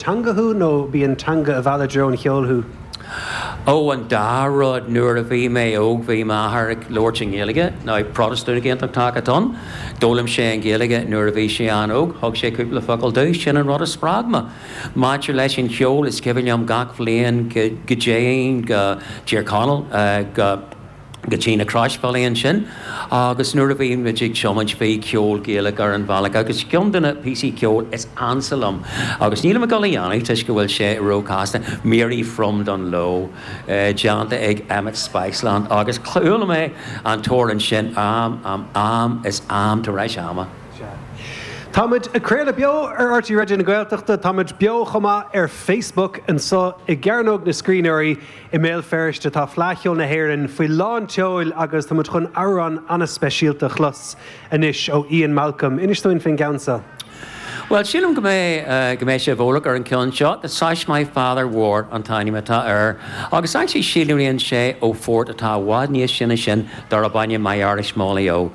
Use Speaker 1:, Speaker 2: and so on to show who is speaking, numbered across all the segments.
Speaker 1: Teanga thú nó b'í an teanga a mheall i dtreo an cheoil thú?
Speaker 2: Ó, an dá rud. Nuair a bhí mé óg bhí m'athair ag labhairt i nGaeilge. Now, Protastúnach Aontachtach atá ann. D'fhoghlaim sé an Ghaeilge nuair a bhí sé an-óg. Thug sé cúpla focal domh. Sin an rud a spreag mé. Maidir leis an cheol, is cuimhin liom gach bhliain go dtéinn go Tír Chonaill, go. go dtí na Croisbhealaí ansin agus nuair a bhí muid ag tiomáint bhí ceol Gaelach ar an bhealach agus ceann de na píosaí ceoil is ansa liom agus nílim ag dul a dhéanamh toisc go bhfuil sé róchasta, Mary from Dungloe déanta ag Emmet Spiceland agus chuala mé an t-amhrán sin am, am, am is am tar éis ama.
Speaker 1: Sea. Táimid ag craoladh beo ar RTÉ Raidió na Gaeltachta, táimid beo chomh maith ar Facebook anseo i gCearnóg na Scríbhneoirí. I mBéal Feirste tá Fleadh Cheoil na hÉireann faoi lán tseoil agus tá muid chun amhrán an-speisialta a chlos anois ó Ian Malcolm. Inis dúinn faoin gceann seo.
Speaker 2: Bhuel, sílim go mbeidh go mbeidh sibh eolach ar an gceann seo. The Sash My Father Wore an t-ainm atá air agus actually síolraíonn sé ó phort atá i bhfad níos sine sin darb ainm My Irish Molly O.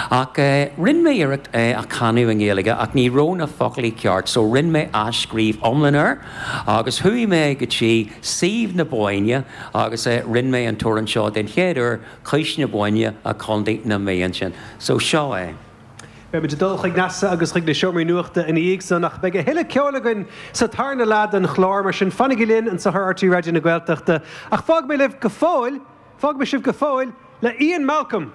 Speaker 2: Ach rinne mé iarracht é a chanadh i nGaeilge ach ní raibh na foclaí ceart so rinne mé athscríobh iomlán air agus chuaigh mé go dtí suíomh na Bóinne agus rinne mé an t-amhrán seo den chéad uair, Cois na Bóinne i Contae na Mí ansin. So seo é.
Speaker 1: Beimid ag dul chuig Neasa agus chuig na seomraí nuachta ina dhiaidh san ach beidh a thuilleadh ceoil againn sa tarna leath den chlár, mar sin fanaigí linn anseo ar RTÉ Raidió na Gaeltachta. Ach fágfaidh mé libh go fóill, fágfaidh mé sibh go fóill le Ian Malcolm!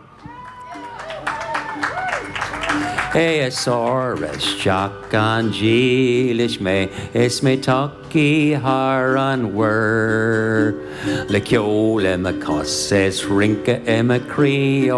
Speaker 2: É Is isteach an-dílis mé is mé tagtha thar an mhuir Le ceol i mo chos is rince i mo chroí.